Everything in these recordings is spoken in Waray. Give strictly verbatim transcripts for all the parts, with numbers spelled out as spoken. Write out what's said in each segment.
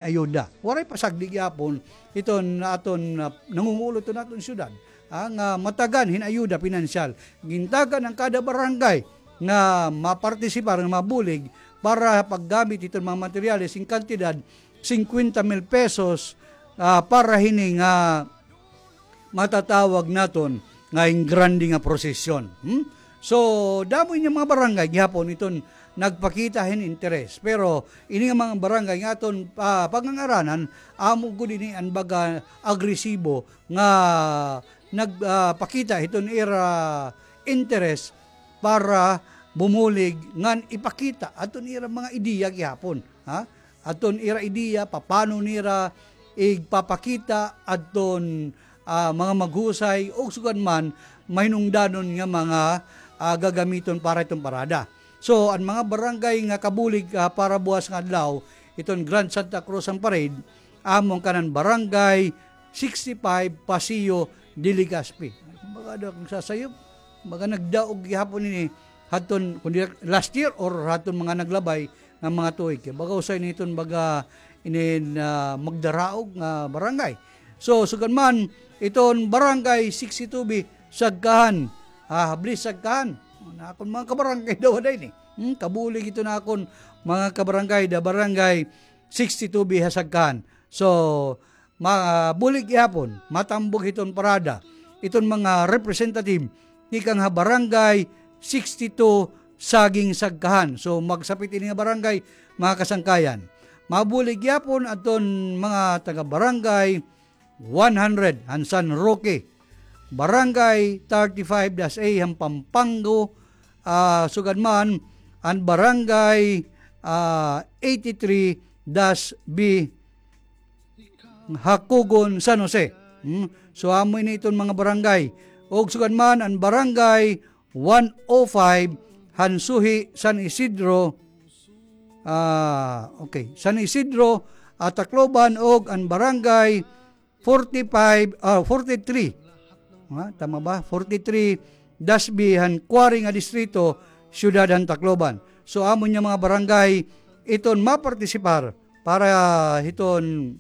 ayuda. Waray pa sagdi gihapon iton aton, ah, nangungulo iton aton syudad, ah, nga matagan hin ayuda pinansyal. Gintagan an kada barangay nga mapartisipar, nga mabulig para paggamit hiton mga materyales hin kantidad singkwenta mil pesos, ah, para hini nga matatawag naton nga ingrande nga prosesyon. Hmm? So, damo ini mga barangay gihapon iton nagpakita hin interes. Pero ini nga mga barangay nga aton, ah, pagngangaranan, amo gud ini an baga agresibo nga nag, ah, pakita hiton ira interes para bumulig ngan ipakita aton ira mga ideya gihapon, ha? Aton ira ideya, papano nira igpapakita adton, ah, mga maghusay o sugad man mahinungdanon nga mga, ah, gagamiton para iton parada. So, an mga barangay nga kabulig, ah, para buwas nga adlaw, iton Grand Santa Cruz an parade, amo an kanan barangay sixty-five, Paseo de Legazpi. Baga daw kung sasayop, baga nagdaog gihapon ini hadton, kundi last year or hadton mga naglabay nga mga tuig. Kay baga usa ini iton baga inin, ah, magdaraog nga barangay. So, sugad man, iton barangay sixty-two B, Sagkahan. Ah, habli Sagkahan. An akon mga kabarangay daw ada ini. Hmm, kabulig iton akon mga kabarangay, da barangay sixty-two B ha Sagkahan. So, mabulig gihapon, matambog hiton parada iton mga representative tikang ha Barangay sixty-two Saging Sagkahan. So, magsapit ini nga barangay, mga kasangkayan. Mabulig gihapon adton mga taga Barangay one hundred han San Roque, Barangay thirty-five dash A han Pampango, ah, sugad man an Barangay, ah, eighty-three dash B Hakugon, San Jose. Hmm? So, amo ini iton mga barangay. Ug sugad man an Barangay one oh five han Suhi, San Isidro, ah, okay, San Isidro, ah, Tacloban, ug an Barangay forty-five, ah, forty-three. Ha? Tama ba? Forty-three dash B han Quarry nga distrito, siyudad han Tacloban. So, amo niya mga barangay iton mapartisipar para hiton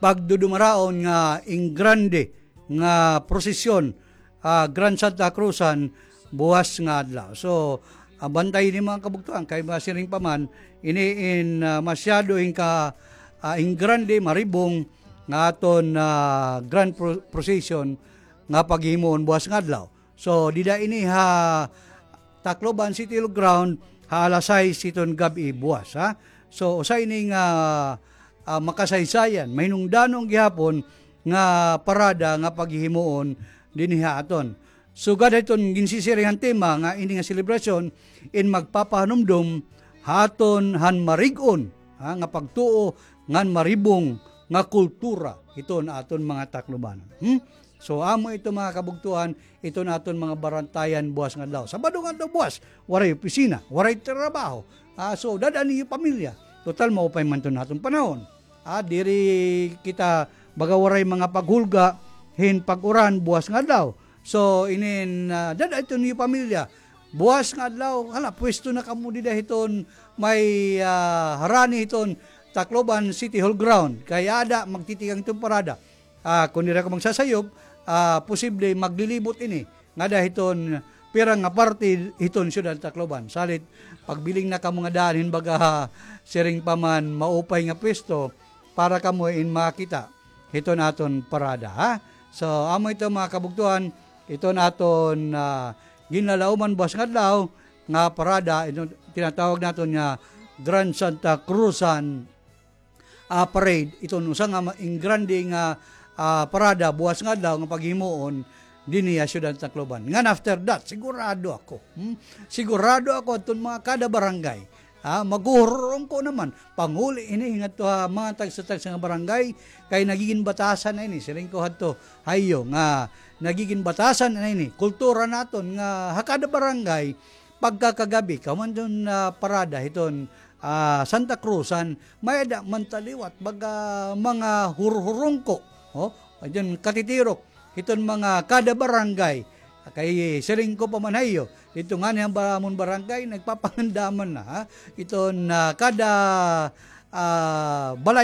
pagdudumaraon nga ingrande nga prosesyon, ah, Grand Santa Cruzan buwas nga adlaw. So, ah, bantay ini mga kabugtoan kay masiring pa man, ini in, ah, masyado in ka, ah, ingrande, maribong nga aton, ah, grand pro-, procession nga paghimuon buwas nga adlaw. So, dida ini ha Tacloban City Hall Ground, ha alas sais hiton gab-i buwas, ha. So, usa ini nga, ah, makasaysayan, mahinungdanon gihapon nga parada nga paghihimuon dinhi ha aton. Sugad hiton ginsisiring han tema nga ini nga selebrasyon, in magpapahanumdom ha aton han marig-on, ha, nga pagtuo ngan maribong nga kultura hiton aton mga Taclobanon. Hmm? So, amo ito, mga kabugtoan, iton aton mga barantayan buwas nga adlaw. Sabado nga adlaw buwas, waray opisina, waray trabaho. Ah, so, dad-a niyo pamilya. Total, maupay man iton aton panahon. Ah, diri kita baga waray mga paghulga hin pag-uran buwas nga adlaw. So, inin, ah, dad-a ito niyo pamilya. Buwas nga adlaw, hala, pwesto na kamo dida hiton may, ah, harani hiton Tacloban City Hall Ground. Kay ada, magtitikang iton parada. Ah, kon diri ako magsasayop, ah, posible maglilibot ini ngada hiton pira nga parte hiton siyudad Tacloban. Salit, pagbiling na kamo nga daan hin baga siring pa man maupay nga pwesto para kamo in makita hiton aton parada, ha? So, amo ito, mga kabugtoan, iton aton, ah, ginlalauman buwas nga adlaw nga parada, iton tinatawag naton nga Grand Santa Cruzan ah, parade. Iton usa nga ma-, ingrande nga, ah, parada buwas nga adlaw nga paghimuon dinhi ha siyudad Tacloban. Ngan after that, sigurado ako, hmm? Sigurado ako adton mga kada barangay, ah, maghuhurungko naman. Panguli ini ngadto ha mga tagsa-tagsa nga barangay, kay nagigin batasan na ini. Siring ko hadto, hayo, nga nagigin batasan na ini. Kultura naton nga ha kada barangay, pagkakagabi, kahuman hiton, ah, parada hiton, ah, Santa Cruzan, may-ada man ta liwat baga mga hurhurungko, oh, adton katitirok hiton mga kada barangay. Kay siring ko pa man hayo, didto ngani ha amon barangay, nagpapanganda man na, ha? Iton, ah, kada ah, balay